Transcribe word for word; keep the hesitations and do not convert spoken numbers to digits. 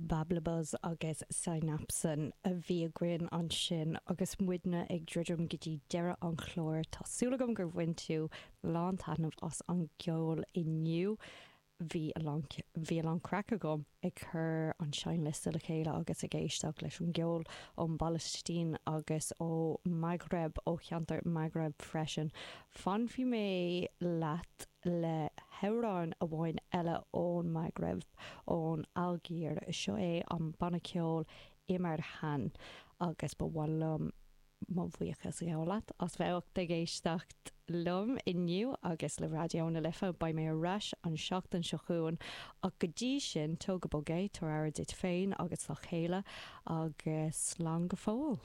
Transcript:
Bablabuzz agus Synapson a bhí againn ansin agus muidne ag druidim go dtí deireadh an chláir Tá súil agam gur bhain tú lántaitneamh as an gceol inniu. Bhí bhí a lán craic agam ag cur an seinnliosta le chéile agus ag éisteacht leis an gceol ón bPalaistín agus ó Maghreb ó cheantar Maghreb freisin. Fanfaidh mé leat le hamhrán amháin eile ón Maghreb ón Ailgéir seo é an banna ceoil Imarhan agus ba mhaith liom mo bhuíochas a ghabháil leat as bheith ag éisteacht liom inniu agus le Raidió na Life beidh mé ar ais an seachtain seo chugainn ach go dtí sin tóg go bog é tabhair aire duit féin agus dá chéile agus slán go fóill.